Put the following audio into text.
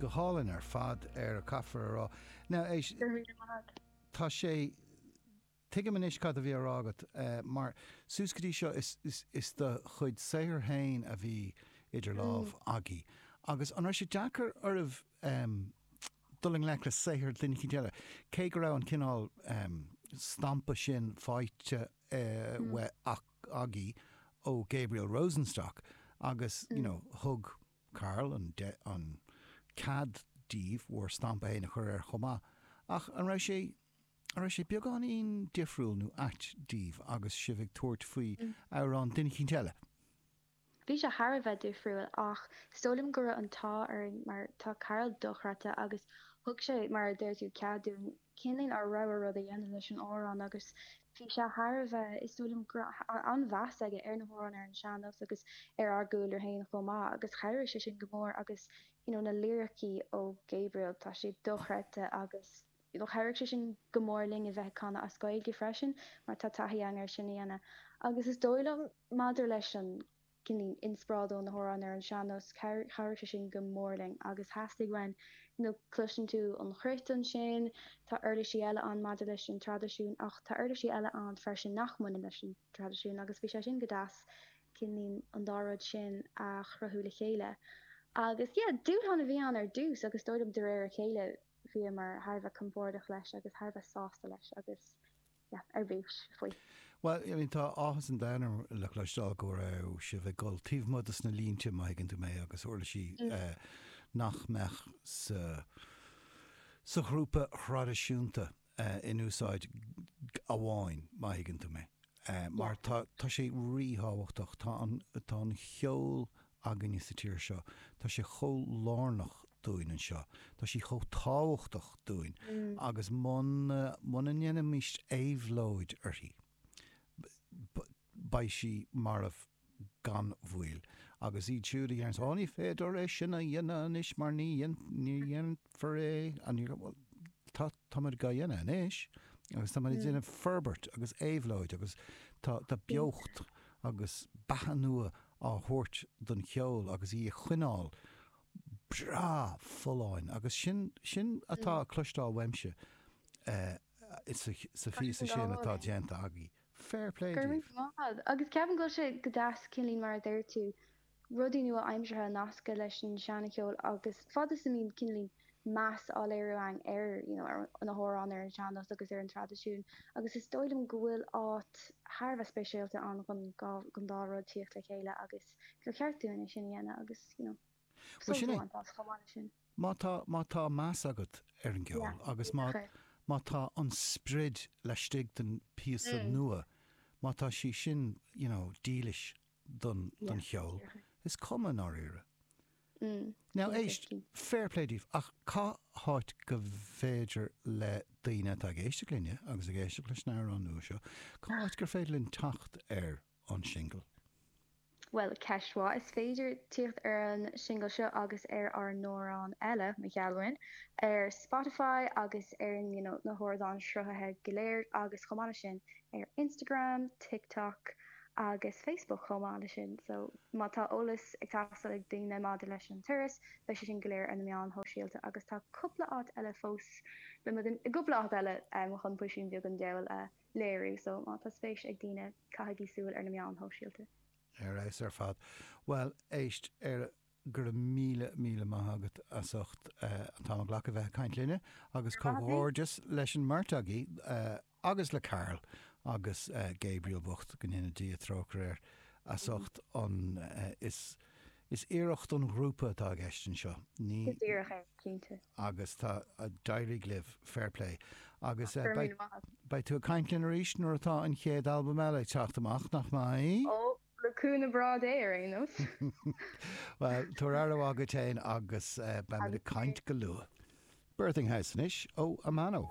Go hálainn ar fad, ar caithfear a rá. Now, éist, Go raibh míle maith agat. tá sé, tuigim anois cad a bhí á rá agat, mar suas go dtí seo is, is, is do chuid saothair féin a bhí idir lámh agaibh. Agus an raibh sé deacair oraibh dul i ngleic le saothar duine eicínt eile, cé go raibh an cineál stampa sin faighte uaidh agaibh ó Gabriel Rosenstock agus, you know, thug Carl an an cead daoibh bhur stampa féin a chur air chomh maith. Ach an raibh sé, an raibh sé beagáinín difriúil nó ait daoibh agus sibh ag tabhairt faoi amhrán duine eicínt eile? Bhí sé thar a bheith difriúil ach is dóigh liom go raibh an t-ádh orainn mar tá Carl dochreidte agus thug sé, mar a deir tú, cead dúinn cineál ár rogha rud a dhéanamh leis an amhrán agus bhí sé thar a bheith, is dóigh liom go raibh an-mheas aige ar na hamhráin ar an sean-nós agus ar ár gcúlra féin chomh maith agus chabhraigh sé sin go mór agus you know na liricí ó Gabriel tá siad dochreidte agus you know chabhraigh sé sin go mór linn a bheith ag canadh as Gaeilge freisin mar tá taithí againn ar sin a dhéanamh agus is dóigh liom maidir leis an cineál inspioráid ó na hamhráin ar an sean-nós chabhraigh sé sin go mór linn agus theastaigh uainn you know cloiseann tú an chruit ansin tá uirlisí eile ann maidir leis an traidisiún ach tá uirlisí eile ann freisin nach mbaineann leis an traidisiún agus bhí sé sin go deas cineál an dá rud sin a chruthú le chéile agus yeah dúshlán a bhí ann ar dtús agus dóigh liom de réir a chéile bhíomar thar a bheith compordach leis agus thar a bheith sásta leis agus yeah, ar bís faoi. Bhuel, I mean, tá áthas an domhain orm le cloisteáil go raibh sibh ag dul taobh amuigh dos na línte, má thuigeann tú mé, agus uirlisí nach mbeadh sa sa ghrúpa thraidisiúnta in úsáid amháin, má thuigeann tú mé. Mar tá tá sé ríthábhachtach, tá an tá an cheol againne sa tír seo. Tá sé chomh lárnach dúinn anseo. Tá sí chomh tábhachtach dúinn agus muna, muna ndéanaimist éabhlóid uirthi, beidh sí marbh gan mhoill. Agus iad siúd a deireanns, Ó, ní féidir é sin a dhéanamh anois mar ní ní dhéanfar é, bhuel, tá, táimid dhá dhéanamh anois agus táimid ag déanamh forbairt agus éabhlóid agus tá, tá beocht agus beatha nua á thabhairt don cheol agus í a choinneáil breá folláin agus sin, sin atá cloisteáil uaimse sa phíosa sin atá déanta agaibh. Fair play Go raibh daoibh. maith agat. Agus ceapaim go bhfuil sé go deas, cineál mar a deir tú, rudaí nua-aimseartha a nascadh leis an seancheol agus fad is a mbíonn cineál meas á léiriú againn ar, you know, ar na hamhráin ar an sean-nós agus ar an traidisiún agus is dóigh liom go bhfuil áit thar a bheith speisialta ann chun don dá rud tíocht le chéile agus gur cheart dúinn é sin a dhéanamh agus, you know, Bhuel sult sin a é. bhaint as chomh maith leis sin. Má tá, má tá meas agat ar an gceol Yeah, agus má, díreach é. má tá an sprid laistigh den phíosa nua, má tá sí sin, you know, dílis don, Yeah, don cheol, díreach é. is cuma i ndáiríre. Mm, Now cinnte, éist, cinnte. fair play daoibh, ach cá háit go bhféidir le daoine atá ag éisteacht linne agus ag éisteacht leis an amhrán nua seo, cá háit gur féidir linn teacht ar an singil? Bhuel, ceist mhaith. Is féidir tíocht ar an singil seo agus ar ár n-amhráin eile, mo gheall uainn, ar Spotify agus ar you know, na hardáin sruthaithe go léir agus chomh maith leis sin ar Instagram, TikTok agus Facebook chomh maith leis sin. So má tá eolas ag teastáil ag daoine maidir leis an turas, beidh sé sin go léir ar na meáin shóisialta agus tá cúpla áit eile fós, beidh muid i gcúpla áit eile chun Puisín Beag an Diabhail a léiriú. So má tá spéis ag daoine, caithigí súil ar na meáin shóisialta. Ar fheabhas ar fad. Bhuel, éist, ar Go raibh míle, míle maith agat as ucht an t-am a ghlacadh bheith ag caint linne agus comhghairdeas leis an mbeirt agaibh agus le Carl agus Gabriel bocht, go ndéana Dia trócaire air, as ucht an, is, is iarracht don ghrúpa atá i gceist anseo, ní. Go díreach é, cinnte. Agus tá, d'éirigh libh, fair play. Agus Go raibh beidh, míle maith agat. beidh tú ag caint linn arís nuair atá an chéad albam eile ag teacht amach, nach mbeidh? Ó, Le cúnamh breá Dé ar aon nós. Bhuel, tabhair aire mhaith duit féin agus beimid ag caint go luath. Birthing House anois ó Amano.